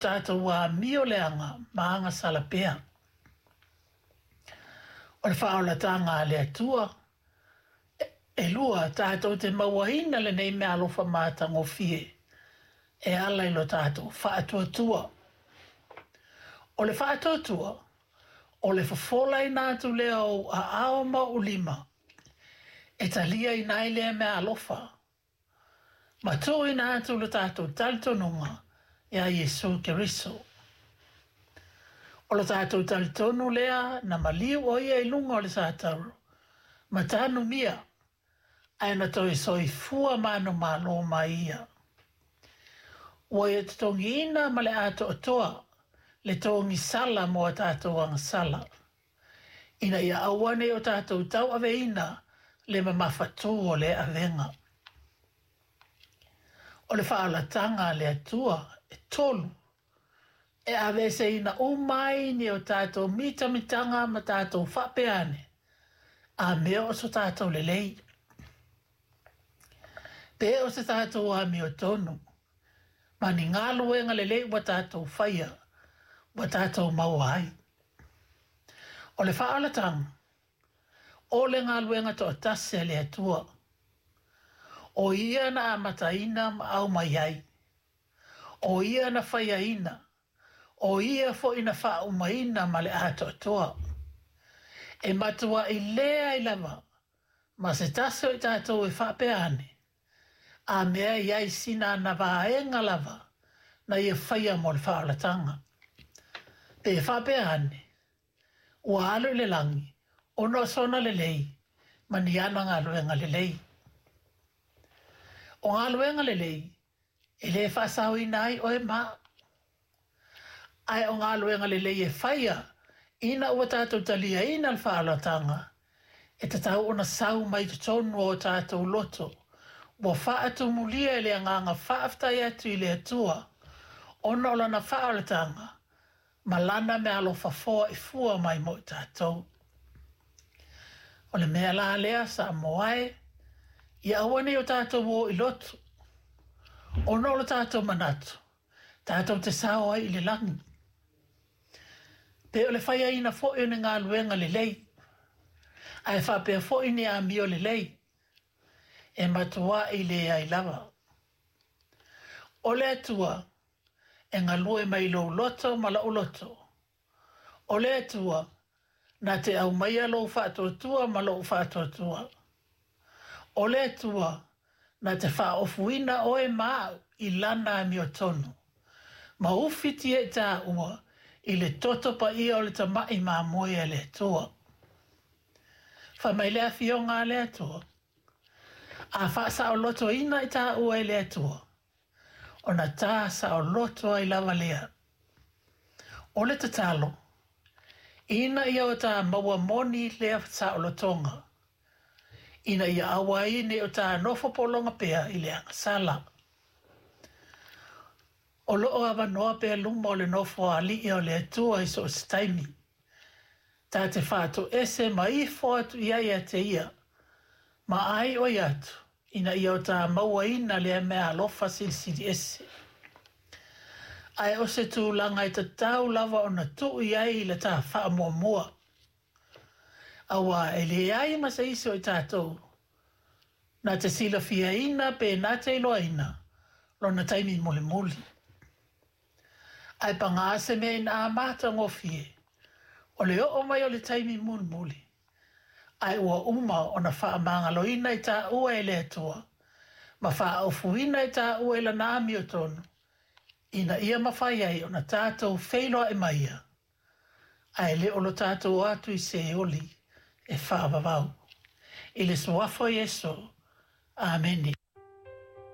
Tatou amio leaga ma agasala pea. O le faaolataga a le Atua, e lua, tatou te mauaina lenei meaalofa matagofie e ala i lo tatou faatuatua. O le faatuatua, o le fofolaina atu lea o ou aao ma ou lima e taliaina ai lea meaalofa ma tuuina atu lo tatou talitonuga iā Iesu Keriso. O lo tatou talitonu lea na maliu ʻo ia i luga o le satauro ma tanumia ae na toe soifua manumalo mai ia. Ua ia totogiina ma le atoatoa le togisala mo a tatou agasala, ina ia aua ne i o tatou tauaveina le mamafatū o lea avega. O le faaolataga a le Atua, e tolu, e aveeseina uma ai ni o tatou mitamitaga ma tatou faapea ane, a mea o so tatou lelei. Pe o se tatou amiotonu, ma ni galuega lelei ua tatou faia, ua tatou maua ai. O le faaolataga, o le galuega toatasi a le Atua. O ia na amataina ma aumai ai. O ia na faiaina. O ia foi na faaumaina ma le atoatoa. E matuai leai lava ma se tasi o i tatou e faapea ane, a mea e i ai sina ana vaega lava na ia faia mo le faaolataga. Pe faapea ane, ua alu i le lagi ona o sona lelei ma ni ana galuega lelei. O galuega lelei e lē faasaoina ai oe ma au. Ae o galuega lelei e faia ina ua tatou taliaina le faaolataga, e tatau ona sau mai totonu o tatou loto ua faatumulia i le agaga faafetai atu i le Atua ona o lana faaolataga ma lana meaalofa foai fua mai mo i tatou. O le mea la lea Samoa e, ia aua ne i o tatou o i lotu, ona o lo tatou manatu, tatou te sao ai i le lagi. Pe o le faiaina foi o ni galuega lelei, ae faapea foi ni amio lelei, e matuai leai lava. O le Atua e galue mai lou loto ma lou loto. O le Atua na te aumaia lou faatuatua ma lou faatuatua. O le Atua na te faaofuina oe ma au i lana amiotonu, ma ufitia i tāua i le toto paia o le tamaʻi mamoe a le Atua. Fai mai le afioga a le Atua, a faasaolotoina i tāua e le Atua, ona tā saoloto ai lava lea. O le tatalo, ina ia o tā maua moni lea saolotoga, ina ia aua ai ne i o tā nofo pologa pea i le agasala. O loo avanoa pea luma o le nofo a alii o le Atua i so o se taimi. Ta te faatoese ma ifo atu i ai ia te ia, ma ai oi atu, ina ia o tā mauaina lea meaalofa silisili ese. Ae o se tulaga e tatau lava ona tuu i ai le tā faamuamua. Auā e leai ma se isi o i tatou na te silafiaina pe na te iloaina lona taimi mulimuli. Ae pagā se mea ina matagofie, o le oo mai o le taimi mulimuli, ae ua uma ona faamagaloina i tāua e le Atua, ma faaofuina i tāua i lana amiotonu, ina ia mafai ai ona tatou feiloai ma ia, ae le o lo tatou o atu i Seoli e faavavau. I le suafa o Iesu. Amene.